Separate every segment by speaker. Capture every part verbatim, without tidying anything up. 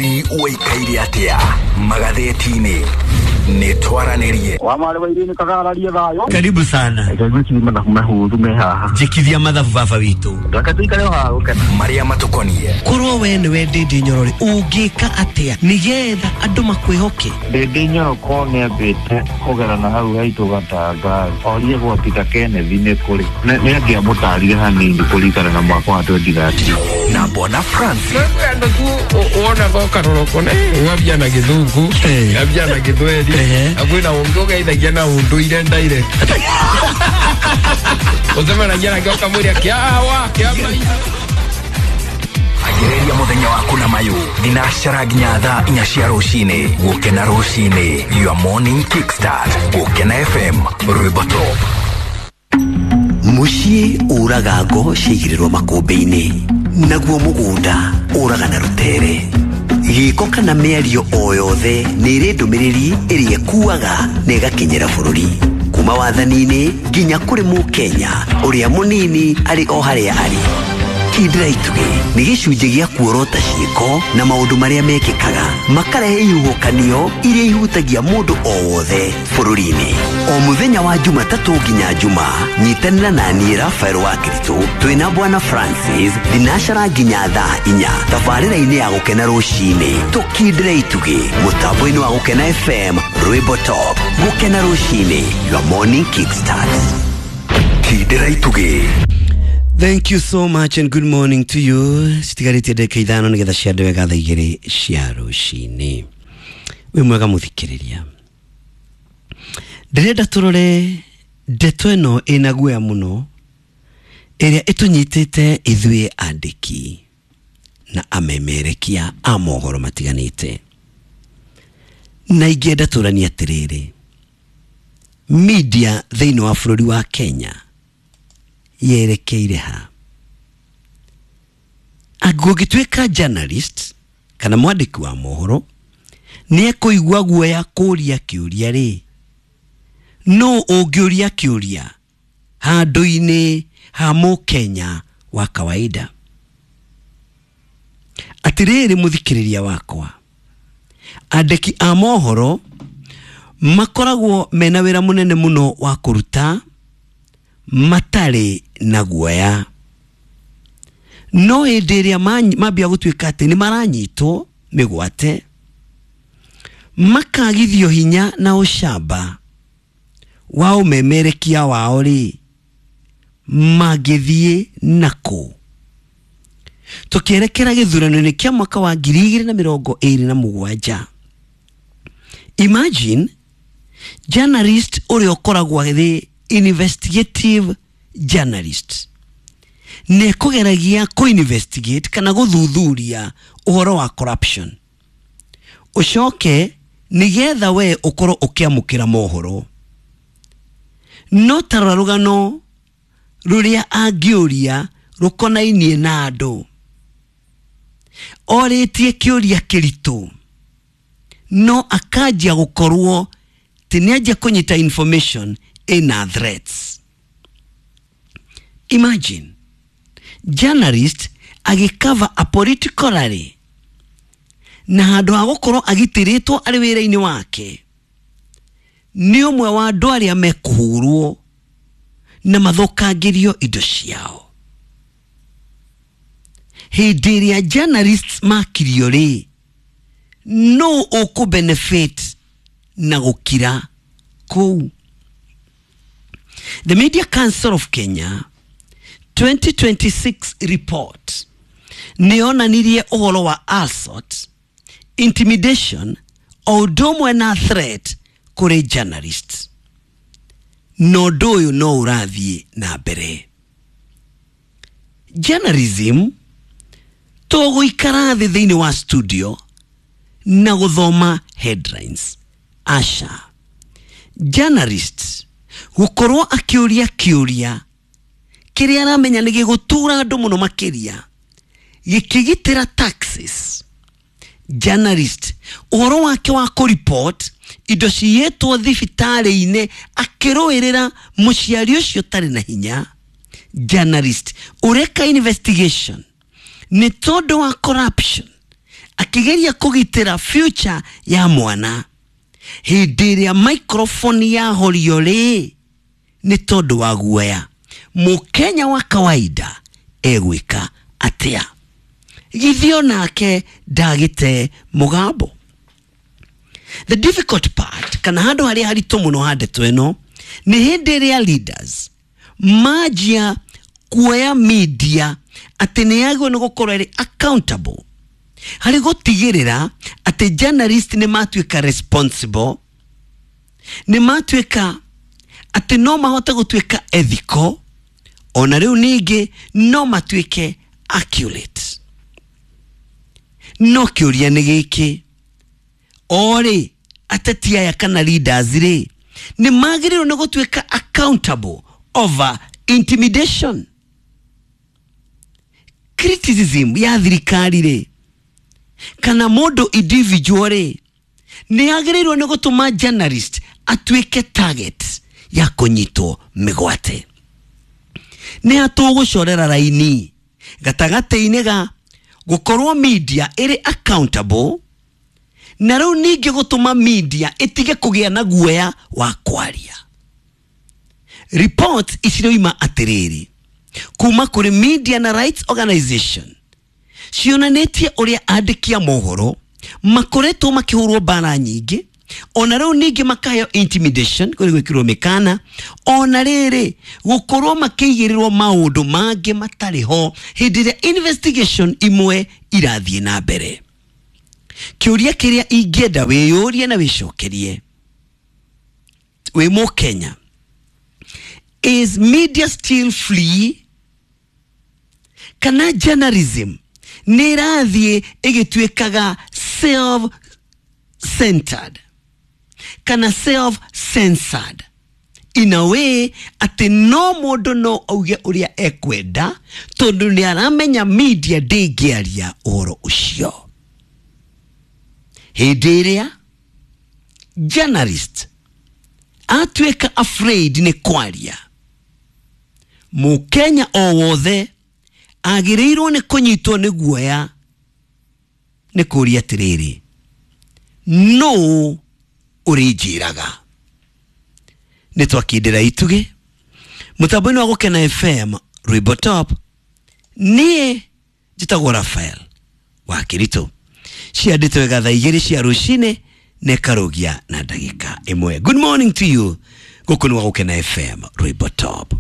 Speaker 1: Ũikaire atĩa magathĩti-inĩ? Nĩ twaranĩrie.
Speaker 2: Wa marĩ wa irini kagararie thayũ.
Speaker 3: Karibu sana.
Speaker 2: Reke mathabu mahũthũ me haha.
Speaker 3: Njikithia mathabu baba witũ.
Speaker 2: Reke tũikare o haha gũkena.
Speaker 1: Marĩa matũkonie.
Speaker 3: Korwo we nĩwe Ndĩndĩ Nyoro rĩ, ũngĩka atĩa nĩgetha andũ makwĩhoke?
Speaker 2: Ndĩndĩ Nyoro ko nĩambĩte kũgerana hau haitũ Gatanga, orie gwa Peter Kenneth nĩ kũrĩ. Nĩ angĩamũtarire hanini kũringana na mwaka wa twenty thirteen.
Speaker 1: Na Bwana Francis.
Speaker 4: Andũ tu wonaga ũkarora ũkona ng'ambia na Gĩthũngũ, ng'ambia na Gĩthweri, na kwĩna ũngĩ ũgeithagia na ũndũire direct. Ũcemanagia nake ũkamwĩra kĩawa, kĩama.
Speaker 1: Agĩrĩria mũthenya waku na mayũ thinacara nginya thaa inya cia rũcinĩ. Gũkena rũcinĩ, your morning kickstart. Gũkena F M, rwĩmbo top.
Speaker 5: Mũciĩ ũraga ngo ciaigĩrĩrwo makũmbĩ-inĩ, naguo mũgũnda ũraga na rũtere. Gĩko kana mĩario o yothe nĩ ĩrĩ ndũmĩrĩri ĩrĩa ĩkuaga na ĩgakinyĩra bũrũri. Kuma wathani-inĩ nginya kũrĩ mũkenya ũrĩa mũnini arĩ o harĩa arĩ. Kindĩra itugĩ nĩ gĩcunjĩ gĩa kuorota ciĩko na maũndũ marĩa mekĩkaga makarehe ihuhũkanio iria ihutagia mũndũ o wothe bũrũri-inĩ. O mũthenya wa Jumatatũ nginya Jumaa, nyitanĩra na niĩ Raphael wa Kiritũ twĩna Bwana Francis thinacara nginya thaa inya tabarĩra-inĩ ya Gũkena rũcinĩ. Tũkindĩre itugĩ mũtambo-inĩ wa Gũkena F M, rwĩmbo top. Gũkena rũcinĩ, your morning kickstart.
Speaker 1: Kindĩra itugĩ.
Speaker 5: Thank you so much and good morning to you. Citigarĩtie ndagĩka ithano nĩgetha ciande wega thaa igĩrĩ cia rũcinĩ. Wĩ mwega mũthikĩrĩria. Ndĩrenda tũrore ndeto ĩno ĩna guoya mũno ĩrĩa ĩtũnyitĩte ithuĩ andĩki na amemerekia a mohoro matiganĩte. Na ingĩenda tũranie atĩrĩrĩ, media thĩinĩ wa bũrũri wa Kenya yerekeire ha? Angĩgũtuĩka journalist kana mwandĩki wa mohoro nĩ ekũigua guoya kũria kĩũria rĩ, no ũngĩũria kĩũria handũ-inĩ ha mũkenya wa kawaida. Atĩrĩrĩ mũthikĩrĩria wakwa, andĩki a mohoro makoragwo mena wĩra mũnene mũno wa kũruta matarĩ na guoya. No hĩndĩ ĩrĩa mambia gũtuĩka atĩ nĩ maranyitwo mĩgwate, makagithio hinya na ũcamba wa ũmemerekia wao rĩ, mangĩthiĩ nakũ? Tũkĩerekera gĩthurano-inĩ kĩa mwaka wa ngiri igĩrĩ na mĩrongo ĩrĩ na mũgwanja, imagine journalist ũrĩa ũkoragwo arĩ investigative journalist nĩ kũgeragia kũ-investigate kana gũthuthuria ũhoro wa corruption, ũcoke nĩgetha we ũkorwo ũkĩamũkĩra mohoro. No tarora rũgano rũrĩa angĩũria rũkonainie na andũ, orĩtie kĩũria kĩritũ, no akanjia gũkorwo atĩ nĩanjia kũnyita information ina threats. Imagine journalist agĩcover a political rally na handũ ha gũkorwo agitĩrĩtwo arĩ wĩra-inĩ wake, nĩ ũmwe wa andũ arĩa mekũhũrwo na mathũkangĩrio indo ciao. Hĩndĩ ĩrĩa journalists makirio rĩ, no ũkũ benefit na gũkira kũu? The Media Council of Kenya twenty twenty-six report nĩyonanirie ũhoro wa assault, intimidation, o ũndũ ũmwe na threat kũrĩ journalists. Na ũndũ ũyũ no ũrathiĩ na mbere. Journalism to gũikara thĩ thĩinĩ wa studio na gũthoma headlines. Aca. Journalists gũkorwo akĩũria kĩũria kĩrĩa aramenya nĩ gĩgũtura andũ mũno makĩria, gĩkĩgitĩra taxes. Journalist ũhoro wake wa kũreport indo ciyĩtwo thibitarĩ-inĩ akĩrũĩrĩra mũciari ũcio ũtarĩ na hinya. Journalist ũreka investigation nĩ tondũ wa corruption
Speaker 3: akĩgeria kũgitĩra future ya mwana. Hĩndĩ ĩrĩa microphone yahorio rĩ, nĩ tondũ wa guoya, Mũkenya wa kawaida egwĩka atĩa? Githĩ onake ndagĩte mũgambo? The difficult part, kana handũ harĩa haritũ mũno ha ndeto ĩno, nĩ hĩndĩ ĩrĩa leaders manjia kuoya media atĩ nĩ yagĩrĩirwo nĩ gũkorwo ĩrĩ accountable harĩ gũtigĩrĩra atĩ journalist nĩ matuĩka responsible, nĩ matuĩka atĩ no mahote gũtuĩka ethical, ona rĩu ningĩ no matuĩke accurate. No kĩũria nĩ gĩkĩ, orĩ ateti aya kana leaders rĩ, nĩ magĩrĩirwo nĩ gũtuĩka accountable over intimidation? Criticism ya thirikari rĩ, kana mũndũ individual rĩ, nĩ agĩrĩirwo nĩ gũtũma journalist atuĩke target ya kũnyitwo mĩgwate? Nĩ atũgũcorera raini gatagatĩ-inĩ ga gũkorwo media ĩrĩ accountable na rĩu ningĩ gũtũma media ĩtige kũgĩa na guoya wa kwaria. Report iciroima atĩrĩrĩ kuma kũrĩ media na rights organization cionanĩtie ũrĩa andĩki a mohoro makoretwo makĩhũrwo mbara nyingĩ, ona rĩu ningĩ makaheo intimidation kũrĩ gwĩkĩrwo mĩkana, ona rĩrĩ gũkorwo makĩigĩrĩrwo maũndũ mangĩ matarĩ ho hĩndĩ ĩrĩa investigation imwe irathiĩ na mbere. Kĩũria kĩrĩa ingĩenda wĩyũrie na wĩcokerie wĩ Mũkenya, is media still free? Kana journalism nĩ ĩrathiĩ ĩgĩtuĩkaga self-centered kana self-censored in a way atĩ no mũndũ no auge ũrĩa ekwenda tondũ nĩ aramenya media ndĩngĩaria ũhoro ũcio? Hĩndĩ ĩrĩa journalist atuĩka afraid nĩ kwaria, Mũkenya o wothe agĩrĩirwo nĩ kũnyitwo nĩ guoya nĩ kũũria atĩrĩrĩ, nũ ũrĩnjĩraga? Nĩ twakindĩra itugĩ mũtambo-inĩ wa Gũkena F M Rwĩmbo Top. Niĩ njĩtagwo Raphael wa Kĩritũ. Ciandĩtwo wega thaa igĩrĩ cia rũcinĩ na ĩkarũgia na ndagĩka ĩmwe. Good morning to you. Gũkũ nĩ gwa Gũkena F M Rwĩmbo Top.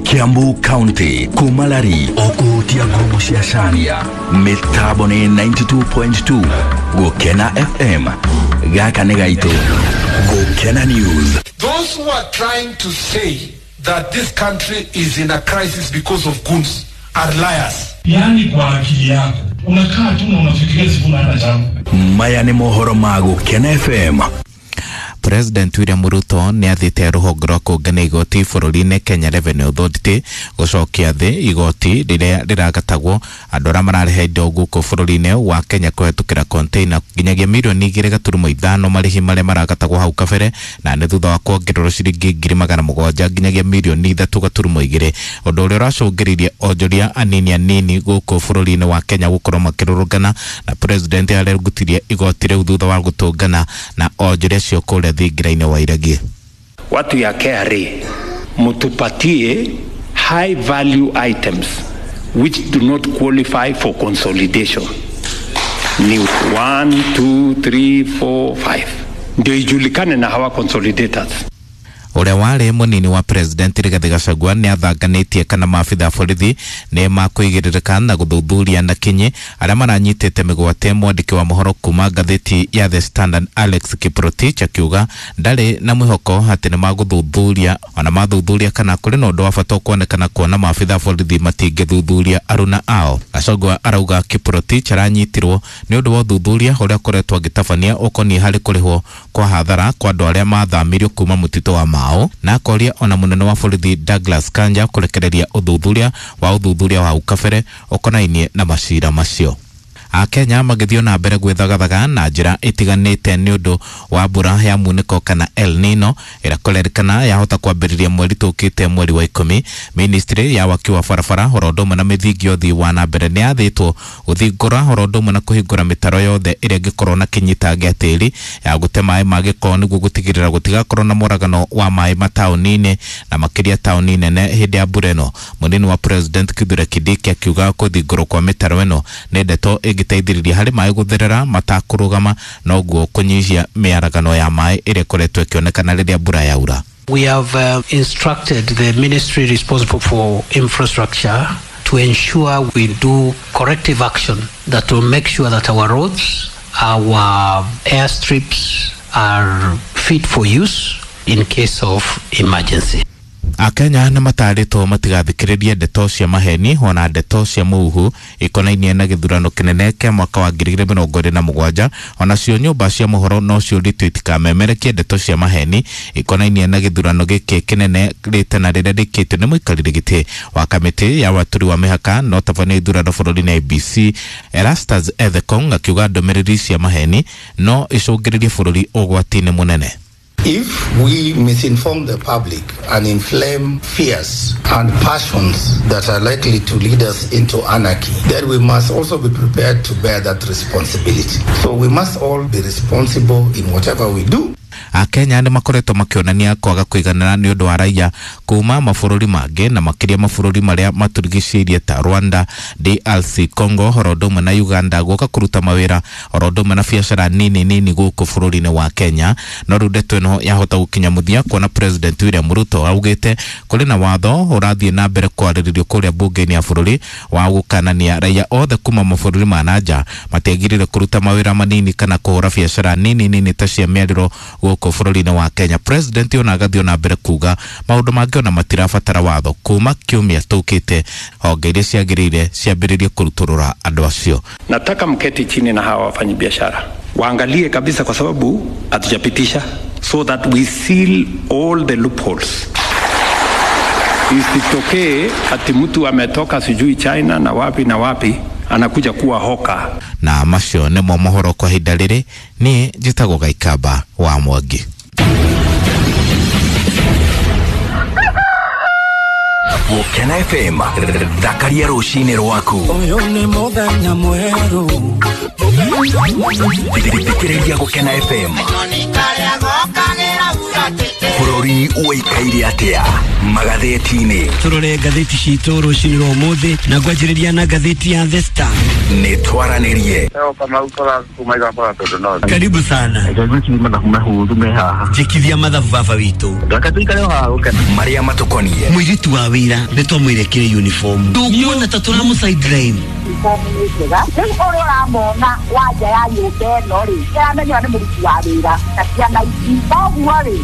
Speaker 1: Kiambu County kumalari okuhutia ngumu cia Caria mitambo ni ninety-two point two Gukena F M gaka nĩ gaitũ. Gukena News.
Speaker 6: Those who are trying to say that this country is in a crisis because of goons are liars.
Speaker 7: Yani kwa akili yako unakaa tu na unafikiria siku na hata changu.
Speaker 1: Maya nĩ mohoro ma Gukena F M.
Speaker 8: President William Ruto nĩ athĩte rũhonge rwa kũngania igoti bũrũri-inĩ Kenya Revenue Authority gũcokia thĩ igoti rĩrĩa rĩragatagwo andũ arĩa mararĩha indo gũkũ bũrũri-inĩ wa Kenya kũhetũkĩra container nginyagia mirioni igĩrĩ gaturumo ithano marĩhi marĩa maragatagwo hau kabere, na nĩ thutha wa kuongererwo ciringi ngiri magana mũgwanja nginyagia mirioni ithatũ gaturumo igĩrĩ, ũndũ ũrĩa ũracũngĩrĩirie onjoria anini anini gũkũ bũrũri-inĩ wa Kenya gũkorwo makĩrũrũngana, na president arerugutirie igoti rĩu thutha wa gũtũngana na onjoria acio kũrĩa thingira-inĩ wa Iregi.
Speaker 9: Watu ya K R A mutupatie high value items which do not qualify for consolidation. Ni one, two, three, four, five. Ndio ijulikane na hawa consolidators.
Speaker 8: Ũrĩa warĩ mũnini wa president Rigathi Gachagua nĩ athanganĩtie kana maabitha a borithi nĩ makũigĩrĩrĩka na gũthuthuria na kinyi arĩa maranyitĩte mĩgwate. Mwandĩki wa mohoro kuma ngathĩti ya The Standard Alex Kiprotich akiuga ndarĩ na mwĩhoko atĩ nĩ magũthuthuria ona mathuthuria kana kũrĩ na ũndũ wa bata ũkuonekana kuona maabitha a borithi matingĩthuthuria aruna ao. Gachagua arauga Kiprotich aranyitirwo nĩ ũndũ wa ũthuthuria ũrĩa akoretwo agĩtabania ũkoniĩ harĩ kũrĩhwo kwa hathara kwa andũ arĩa mathamirio kuma mũtitũ wa Mau, na akoria ona munene wa borithi Douglas Kanja kurekereria uthuthuria wa uthuthuria wa ukabere ukonainie na macira macio. Akenya magĩthiĩ na mbere gwĩthagathaga na njĩra ĩtiganĩte nĩ ũndũ wa mbura ya munĩko kana El Nino ĩrĩa kũrerĩkana yahota kwambĩrĩria mweri tũkĩte mweri wa ikũmi. Ministry ya waki wa barabara oro ũndũ ũmwe na mĩthingi ya ũthii wa na mbere nĩ yathĩtwo gũthingũra oro ũndũ ũmwe na kũhingũra mĩtaro yothe ĩrĩa ĩngĩkorwo na kĩnyita gĩa tĩri ya gũte maĩ ma gĩko nĩguo gũtigĩrĩra gũtigakorwo na mũragano wa maĩ mataũni-inĩ na makĩria taũni nene hĩndĩ ya mbura ĩno. Mũnini wa President Kithure Kindiki akiuga kũthingũrwo kwa mĩtaro ĩno nĩ ndeto ĩngĩteithĩrĩria harĩ maĩ gũtherera matakũrũgama noguo kũnyihia mĩaragano ya maĩ ĩrĩa ĩkoretwo ĩkĩonekana rĩrĩa mbura yaura.
Speaker 10: We have uh, instructed the ministry responsible for infrastructure to ensure we do corrective action that will make sure that our roads, our airstrips are fit for use in case of emergency.
Speaker 8: Akenya nĩ matarĩtwo matigathikĩrĩrie ndeto cia maheni ona ndeto cia mũhuhu ikonainie na gĩthurano kĩnene kĩa mwaka wa ngiri igĩrĩ mĩrongo ĩrĩ na mũgwanja. Onacio nyũmba cia mohoro no ciũrĩtio itikamemerekie ndeto cia maheni ikonainie na gĩthurano gĩkĩ kĩnene rĩtana rĩrĩa rĩkĩtio nĩ mũikarĩri gĩtĩ wa kamĩtĩ ya watũri wa mĩhaka na ũtabania ithurano bũrũri-inĩ I B C Erastus Ethekong akiuga ndũmĩrĩri cia maheni no icũngĩrĩrie bũrũri ũgwati-inĩ mũnene.
Speaker 11: If we misinform the public and inflame fears and passions that are likely to lead us into anarchy, then we must also be prepared to bear that responsibility. So we must all be responsible in whatever we do.
Speaker 8: Akenya nĩ makoretwo makĩonania kwaga kũiganĩra nĩ ũndũ wa raia kuma mabũrũri mangĩ na makĩria mabũrũri marĩa matũrigicĩirie ta Rwanda, D R C Congo, oro ũndũ ũmwe na Uganda gũka kũruta mawĩra oro ũndũ ũmwe na biacara nini nini gũkũ bũrũri-inĩ wa Kenya. No rĩu ndeto ĩno yahota gũkinya mũthia kuona President William Ruto augĩte kũrĩ na watho ũrathiĩ na mbere kwarĩrĩrio kũrĩa mbunge-inĩ ya bũrũri wa gũkanania raia othe kuma mabũrũri ma na nja matiagĩrĩire kũruta mawĩra manini kana kũhũra biacara nini nini ta cia mĩarĩro gũkũ bũrũri-inĩ wa Kenya. President ona agathiĩ na mbere kuga maũndũ mangĩ ona matirabatara watho kuma kiumia tũkĩte honge iria ciagĩrĩire ciambĩrĩrie kũrutũrũra andũ acio.
Speaker 9: Nataka mketi chini na hawa wafanyabiashara waangalie kabisa, kwa sababu hatujapitisha, so that we seal all the loopholes. Isitokee ati mtu ametoka sijui China na wapi na wapi anakuja kuwa hoka.
Speaker 8: Na macio nĩmo mohoro kwa ihinda rĩrĩ. Niĩ njĩtagwo Gaikamba wa Mwangi.
Speaker 1: Gũkena F M thakaria rũcinĩ rwaku.
Speaker 12: Ũyũ nĩ mũthenya mwerũ.
Speaker 1: Thikĩrĩria Gũkena F M. Bũrũri ũikaire atĩa magathĩti-inĩ?
Speaker 3: Tũrore ngathĩti citũ rũcinĩ rwa ũmũthĩ na ngwanjĩrĩria na ngathĩti ya The Star.
Speaker 1: Nĩ twaranĩrie.
Speaker 3: Karibu sana. Njĩkithia mathabu baba witũ.
Speaker 1: Marĩa matũkoniĩ.
Speaker 3: Mũirĩtu wa wĩra nĩ twamwĩrekire uniform. Ndũkuona ta tũramũ sideline.
Speaker 13: Rĩu ũrĩa ũramona wanja ya nyũmba ĩno rĩ, kĩramenywo nĩ mũruti wa wĩra na ciana ici. Koguo rĩ,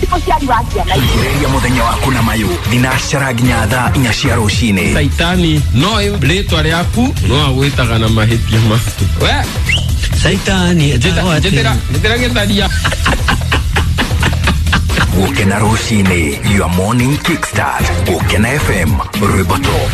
Speaker 13: ti mũciari wa ciana ici.
Speaker 1: Ambĩrĩria mũthenya waku na mayũ thinacara nginya thaa inya cia rũcinĩ.
Speaker 4: Saitani no rĩtwa rĩaku no agwĩtaga na mahĩtia maku. We
Speaker 3: Saitani
Speaker 4: njĩtĩra njĩtĩra gĩtharia.
Speaker 1: Gũkena rũcinĩ, your morning kickstart. Gũkena F M, rwĩmbo top.